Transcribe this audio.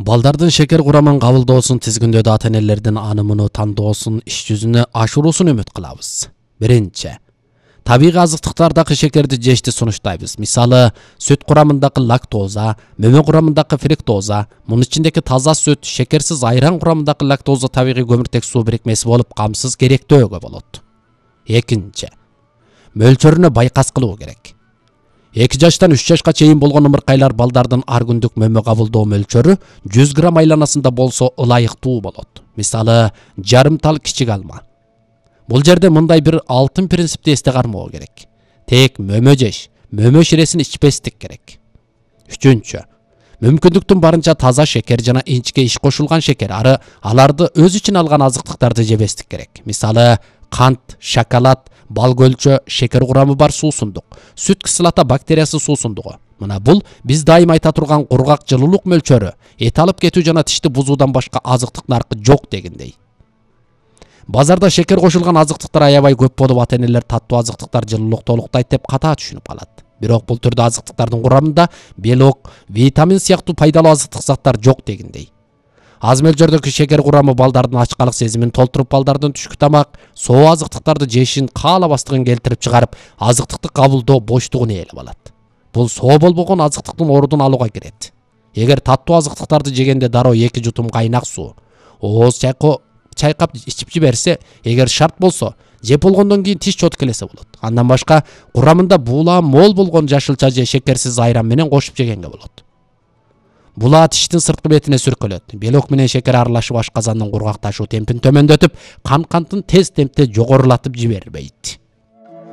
Балдардын шекер курамын кабылдоосун тизгиндөөдө ата-энелердин анымыны тандоосун иш жүзүнө ашыруусун үмүт кылабыз. Биринчи, табигый азыктыктардагы шекерди жешти сунуштайбыз. Мисалы, сүт курамындагы лактоза, мөмө курамындагы фруктоза, мунун ичиндеги таза сүт, шекерсиз айран курамындагы лактоза табигый көмүртек суу бирикмеси болуп, камсыз керектөөгө болот. Экинчи, мөлчөрүнө байкас кылуу керек. 2 жаштан 3 жашка чейин болгон ымыркайлар балдардын ар күндүк мөмө кабылдоо мөлчөрү 100 грамм айланасында болсо ылайыктуу болот. Мисалы, жарым тал кичик алма. Бул жерде мындай бир алтын принципти эсте кармоо керек. Тек мөмө жеш, мөмө ширесин ичпестик керек. Үчүнчү, мүмкүндүктүн барынча таза шекер жана инчке иш кошулган шекер, аларды өз ичине алган азыктыктарды жебестик керек. Мисалы, кант, шоколад, бал көлчө, шекер курамы бар суусундук, сүт кислота бактериясы суусундугу. Мына бул биз дайым айта турган кургак жылуулук мөлчөрү, эт алып кетүү жана тишти бузуудан башка азыктык наркы жок дегендей. Базарда шекер кошулган азыктыктар аябай көп болуп, ата-энелер таттуу азыктыктар жылуулук толуктайт деп ката түшүнүп калат. Бирок бул түрдө азыктыктардын курамында белок, витамин сыяктуу пайдалуу азыктык заттар жок дегендей. Аз мөлчөрдөгү шекер курамы балдардын ачкалык сезимин толтуруп, балдардын түшкү тамак, соо азыктыктарды жешин каалабастыгын келтирип чыгарып, азыктыкты кабылдоо боштугун ээлеп алат. Бул соо болбогон азыктыктын ордун алууга кирет. Эгер таттуу азыктыктарды жегенде дароо 2 жутум кайнак суу, ооз чайкап ичип жиберсе, эгер шарт болсо, жеп болгондон кийин тиш чоткелесе болот. Андан башка курамында буулам мол болгон жашылча же шекерсиз айран менен кошуп жегенге болот. Булаа тиштин сырткы бетине сүркөлөт. Белок менен шекер аралашып ашказандын кургакташуу темпин төмөндөтүп, кан кантын тез темпте жогорулатып жибербейт.